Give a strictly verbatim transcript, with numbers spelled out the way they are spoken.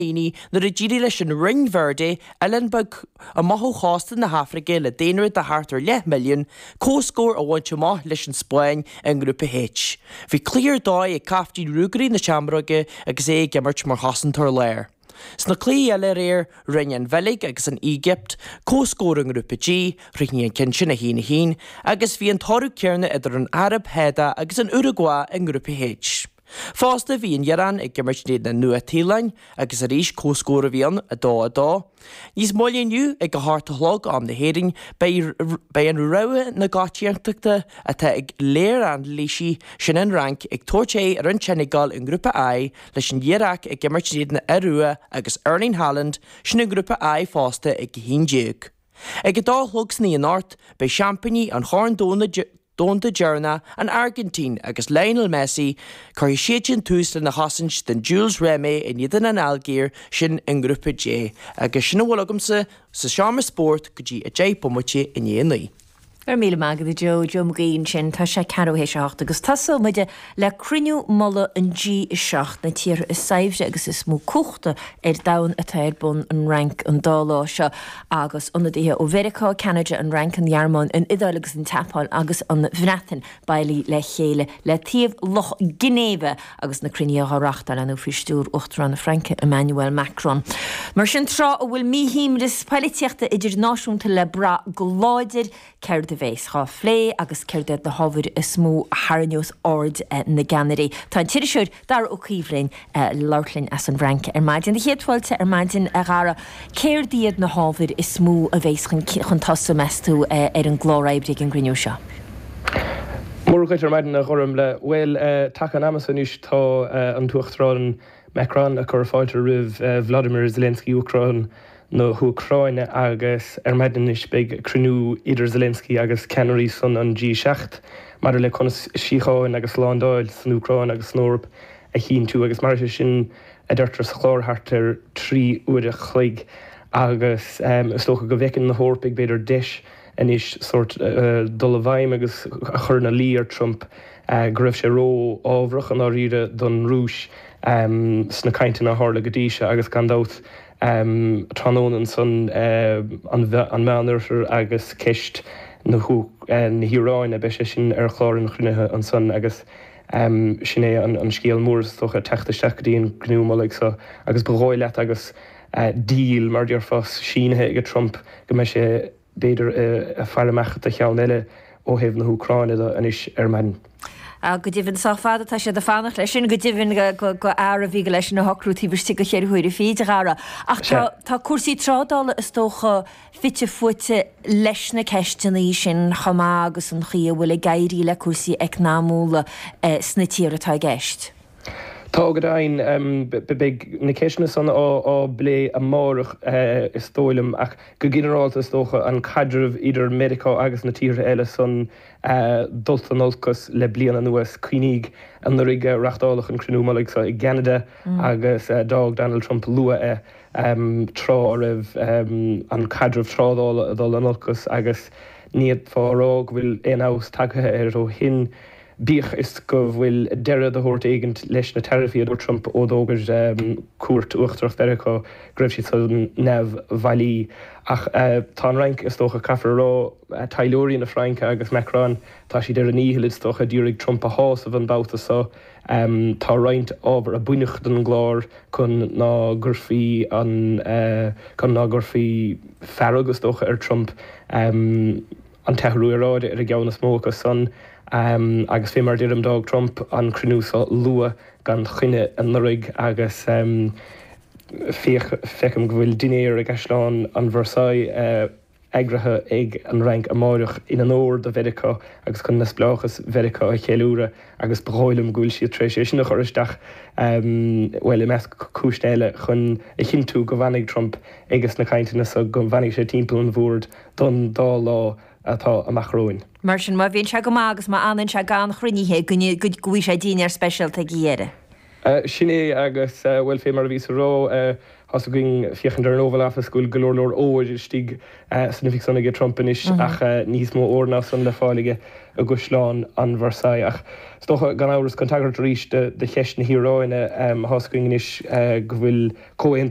daoine nuair a d'éirigh leis an Rinn Verde, oileán beag amach ó chósta na hAfraice le daonra de thart ar leath milliún, comhscór a bhaint amach leis an Spáinn i ngrúpa H. Bhí cluiche ar dóigh ag caiftín Ruagairí na Seamróige agus é ag imirt mar chosantóir láir. Sna cluichí eile aréir, rinne an Bheilg agus an Éigipt comhscór i ngrúpa G, chríochnaigh an ceann sin a haon a haon, agus bhí an toradh céanna idir an Araib Shádach agus an Uragua i ngrúpa H. Fosta bhí an Iaráin ag imirt in éadan na Nua-Shéalainne agus arís comhscór a bhí ann, a dó a dó. Níos moille inniu ag a hocht a chlog am na hÉireann beidh beidh an rogha na coitiantachta atá ag léiranailísí, sin an Fhrainc, ag tabhairt aghaidh ar an tSeineagáil i ngrúpa I leis an Iaráic ag imirt in éadan na Iorua agus Erling Haaland, sin i ngrúpa I fosta ag a haon déag. Ag a dó a chlog san oíche anocht beidh seaimpíní an Chorn Domhanda Domhanda deireanach, an Airgintín agus Lionel Messi, cuirfidh siad sin tús lena chosaint den Jules Rimet in éadan an Ailgéir, sin i ngrúpa J. Agus sin a bhfuil agamsa sa seomra spóirt go dtí a deich bomaite i ndiaidh a naoi. Go raibh míle maith agat a Joe, Joe Mag Aoidh ansin. Tá sé ceathrú théis a hocht agus tosóidh muid le cruinniú mullaigh an G a seacht, na tíortha is saibhre agus is mó cumhachta ar domhan atá ar bun an Fhrainc an dá lá seo agus ionadaithe ó Mheiriceá, Ceanada, an Fhrainc, an Ghearmáin, an Iodáil agus an tSeapáin agus an Bhreatain bailithe le chéile le taobh Loch Ginéive agus na cruinnithe á reáchtáil ann faoi stiúir Uachtarán na Fraince Emmanuel Macron. Mar sin tráth a bhfuil míshuaimhneas polaitíochta idirnáisiúnta le brath go láidir, céard a bheas á phlé agus céard iad na hábhair is mó a tharraingeos aird na gceannairí. Tá an t-iriseoir Dara Ó Caoimh linn le labhairt linn as an bhFrainc ar maidin. Céad fáilte ar maidin a Dhara. Céard iad na hábhair is mó a bheas chun chun tosaigh meas tú ar an gclár oibre ag an gcruinniú seo? Móra dhuit ar maidin a Ghormfhlaith. Bhuel, taca an ama seo anois tá an tUachtarán Macron ag cur fáilte roimh Vladimir Zelensky Uachtarán na hÚcráine agus ar maidin anois beidh cruinniú idir Zelensky agus ceannairí san an G seacht maidir le conas síocháin agus slándáil san Úcráin agus san Eoraip a chinntiú agus mar sin a deirtear sa chlár thart ar trí uair a chloig agus is dócha go bhfeiceann na hEorpaigh b'fhéidir deis anois sórt dul i bhfeidhm agus a chur ina luí ar Trump go raibh sé rófhábharach i ndáiríre don Rúis sna cainteanna a tharla go dtí seo agus gan dabht tráthnóna ansan an Meánoirthear agus ceist na hIaráine beidh sé sin ar chlár an chruinnithe ansan agus sin é an scéal mór is dócha teacht isteach go dtí an gcruinniú mullaigh seo agus ba dhóigh leat agus deal mar déarfá sínithe ag Trump go mbeidh sé b'fhéidir ag faire amach do cheann eile ó thaobh na hÚcráine de anois ar maidin. Go deimhin sách fada tá siad ag fanacht leis sin, go deimhin go fhear a bhí leis sin a shocrú taobh istigh de cheithre huaire fichead, a Dhara. Ach tá tá cúrsaí trádála is dócha fite fuaite leis na ceisteanna sin chomh maith agus an chaoi a bhfuil ag éirí le cúrsaí eacnamúla sna tíortha atá i gceist. Tá go deimhin. Beidh na ceisteanna san á bplé amárach is dóigh liom ach go ginearálta is dócha an caidreamh idir Meiriceá agus na tíortha eile san dulta in olcas le bliain anuas. Cuimhnigh anuraidh reáchtáladh an cruinniú mullaigh seo i gCeanada agus d'fhág Donald Trump luath é tráth a raibh an caidreamh trádála ag dul in olcas agus ní fhéadfá a rá go bhfuil aon fheabhas tagtha air ó shin. Bíodh is go bhfuil deireadh de shórt éigint leis na taraifí a dúirt Trump ó d'fhógair Cúirt Uachtarach Mheiriceá go raibh siad san neamhbhailí. Ach tá an Fhrainc, is dócha, caithfear a rá, taidhleoirí na Fraince agus Macron, tá siad ar a ndícheall, is dócha, d'iarraidh Trump a shásamh an babhta seo. Tá roinnt ábhar a baineadh den gclár chun ná gcuirfí an, chun ná gcuirfí fearg, is dócha, ar Trump. An t-athrú aeráide ar an gceann is mó acu san, agus fé mar a deirim, d'fhág Trump an cruinniú seo luath gan choinne anuraidh agus féach, feicim go bhfuil dinnéar i gCaisleán an Versailles eagraithe ag an Fhrainc amáireach in onóir do Mheiriceá agus chun neamhspleáchas Mheiriceá a cheiliúradh agus ba dhóigh liom go bhfuil siad tar éis é sin a chur isteach, bhuel, i measc cúiseanna eile, chun a chinntiú go bhfanfaidh Trump ages na cainteanna so, go bhfanfaidh sé timpeall an bhoird don dá lá atá amach romhainn. Mar sin, má bhíonn sé go maith agus má fhanann sé gan chruinnithe, go bhfaighidh sé dinnéar speisialta ag a dheireadh. Sin é agus, bhuel, fé mar a bhíos a rá, tá's againn, féachaint ar an Oval Office, go bhfuil go leor leor óir istigh san oifig san aige Trump anois ach níos mó óir ná san le fáil aige i gCaisleán an Versailles. Ach is dócha, gan amhras, chun tagairt arís do cheist na hIaráine, tá's againn anois go bhfuil comhaontú